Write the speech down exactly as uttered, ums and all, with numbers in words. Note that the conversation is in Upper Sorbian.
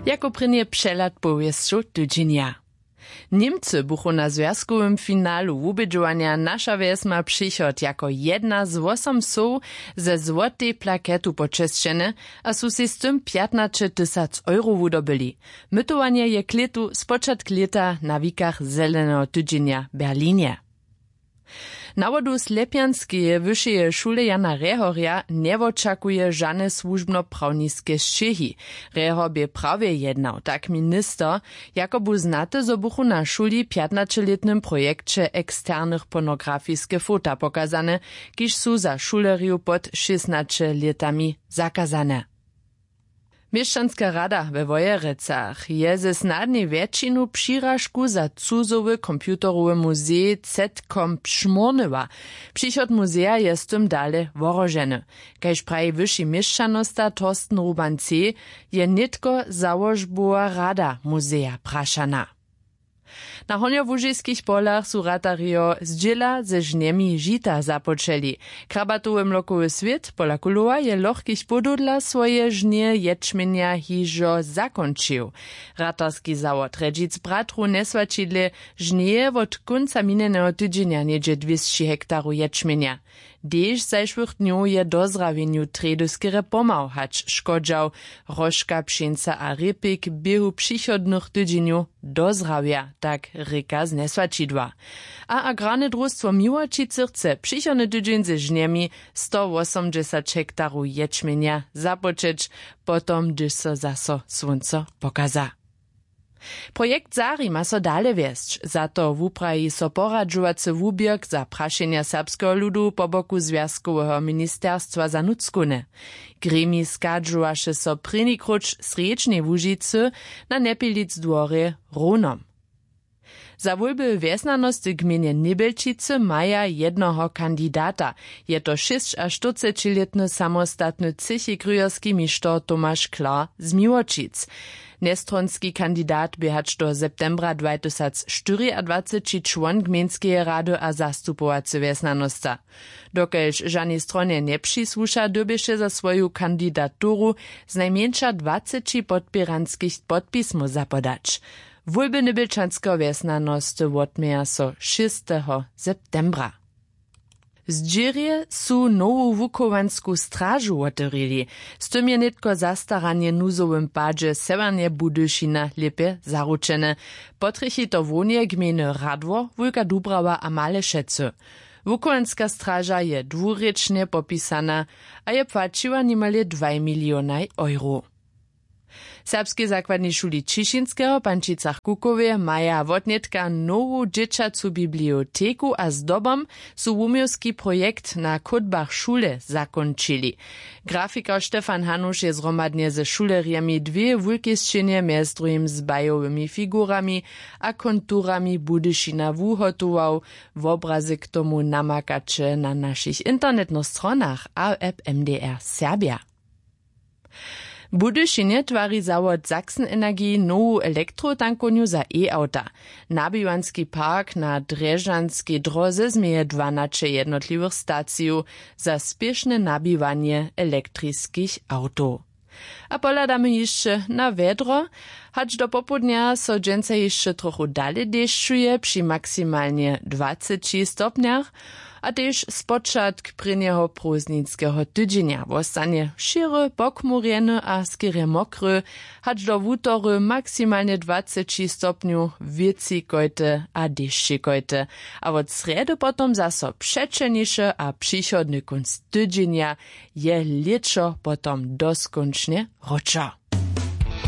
Jako prěnje přehlad powěsćow tydźenja. Němcy buchu na zwjazkowym finalu wubědźowanja naša wjesma přichod jako jedna z wosom wsow ze złotej plaketu počesćene a su sej z tym pjatnaćetysac euro wudobyli. Mytowanje je k lětu spočatk lěta na wikach zeleneho tydźenja w berlinje. Na wodu slepjanskeje wyšeje šule jana rehorja njewočakuje žane słužbnoprawniske sćěhi. Rehor bě prawje jednał tak minister, jako bu znate zo buchu na šuli w pjatnaćelětnym projekće eksternych pornografiske fota pokazane, kiž su za šulerjow pod šěsnaće lětami zakazane. Měšćanska rada we wojerecach je ze snadnej wjetšinu přiražku za cuzowy computerowy muzej zetkom pšmurnyła. Přichod muzeja je z tym dale wohroženy. Kaž praji wyši měšćanosta torsten ruban c, je nětko załožbowa rada muzeja prašana. Na hornjołužiskich polach su ratarjo zdźěla ze žnjemi žita započeli. Krabatowy mlokowy swět pola kulowa je lochkich podoł dla swoje žnje ječmjenja hižo zakónčił. Ratarski zawod rjedźic bratrow njeswaćidle žnjeje wot kónca minjeneho tydźenja něhdźe dwěsći hektarow ječmjenja. Hdyž zašłych dnjow je dozrawjenju trjedyskerje pomał hač škodźał. Róžka pšeńca a rěpik běhu přichodnych tydźenjow dozrawja, tak rěka z njeswaćidła. A agrarne drustwo miłočicy chce přichodny tydźeń ze žnjemi sto wosomdźesać hektarow ječmjenja započeć, potom hdyž so zaso słónco pokaza. Projekt zari ma so dale wjesć. Za to wupraji so poradźowacy wuběrk za prašenja serbskeho ludu po boku zwjazkoweho ministerstwa za nutřkowne. Gremij schadźowaše so prěni króć w srjedźnej łužicy na njepilic dworje w rownom. Za wólby wjesnjanosty w gmejnje njebjelčicy maja jednoho kandidata. Je to šěsćaštyrcećilětny samostatny třěchi kryjerski mišter tomaš klar z miłočic. Njestronski kandidat bě hač do septembra dwatysacštyriadwaceći čłon gmejnskeje rady a zastupowacy wjesnjanosta. Dokelž žanej stronje njepřisłuša dyrbješe za swoju kandidaturu znajmjeńša dwaceći podpěranskich podpismow zapodać. Wólby njebjelčanskeho wjesnjanosty wotměja so šěsteho septembra. W zdźěrje su nowu wuchowansku stražu wotewrili. Z tym je nětko zastaranje w nuzowym padźe sewjernje budyšina lěpje zaručene. Potrjechi to hłownje gmejny radwor wulka dubrawa a male šecy. Wuchowanska straža je dwurěčnje popisana a je płaćiła nimale dwaj milionaj euro. W serbskej zakładnej šuli ćišinskeho w pančicach kukowje maja wotnětka nowu dźěćacu biblioteku a zdobom su wuměłski projekt na chódbach šule zakónčili. Grafikar stefan hanuš je zhromadnje ze šulerjemi dwě wulkej sćěnje mjez druhim z bajowymi figurami a konturami budyšina wuhotował. Wobrazy k tomu namakaće na našich internetnych stronach a w app mdr serbja. W budyšinje twari zawod sachsen energie nowu elektrotankownu za e-awta. Nabiwanski park na drježdźanskej dróze změje dwanaće jednotliwych stacijow za spěšne nabiwanje elektriskich awtow. A pohladamy hišće na wjedro. Hač do popołdnja so dźensa hišće trochu dale dešćuje při maksimalnje dwaceći stopnjach. A tež spočatk prěnjeho prózdninskeho tydźenja wostanje šěry pochmurjeny a skerje mokry. Hač do wutory maksimalnje dwaceći stopnjow wěcikojte a dešćikojte. A wot srjedy potom zaso přećelniše a přichodny kónc tydźenja je lěćo potom doskónčnje wróćo.